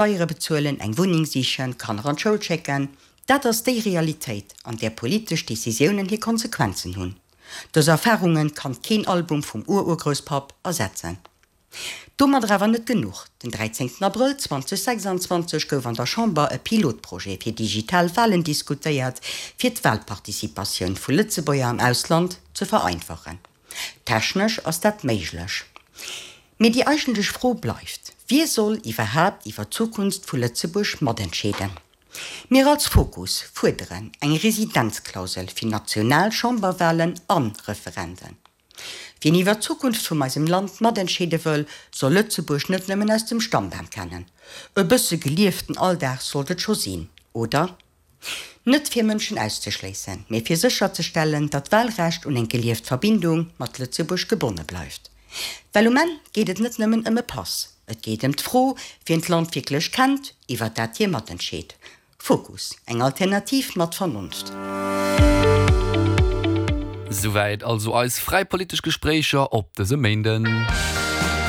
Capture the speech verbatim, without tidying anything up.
Steiere bezuelen, eng Wunneng sichen, Kanner an d'Schoul schécken. Dat ass déi Realitéit, an där politesch Decisiounen hir Konsequenzen hunn. Dës Erfarunge kann keen Album vum Ururgrousspapp ersetzen. Domadder awer net genuch, Den dräizéngten Abrëll zweitausendsechsundzwanzeg gouf an der Chamber e Pilotprojet fir digital Walen diskutéiert, fir d'Walparticipatioun vu Lëtzebuerger am Ausland ze vereinfachen. Technesch ass dat méiglech. Mee déi eigentlech Fro bleift, Wie soll iwwerhaapt iwwer d'Zukunft vu Lëtzebuerg matentscheeden? Mir als Fokus fuerderen eng Residenzklausel fir national Chamberwalen a Referenden. Wien iwwer d'Zukunft vun eisem Land matentscheede wëll, soll Lëtzebuerg net nëmmen aus dem Stammbam kennen. E bësse gelieften Alldag sollt et scho sinn, oder? Net fir Mënschen auszeschléissen, mee fir sécherzestellen, datt d'Walrecht un eng gelieft Verbindung mat Lëtzebuerg gebonne bleift. Well um Enn geet et net nëmmen ëm e Pass, et geet ëm d'Fro, wien d'Land wierklech kennt, iwwer dat hie matentscheet. Fokus, eng Alternativ mat Vernonft. Souwäit also eis fräi politesch Gespréicher op dësem Méinden.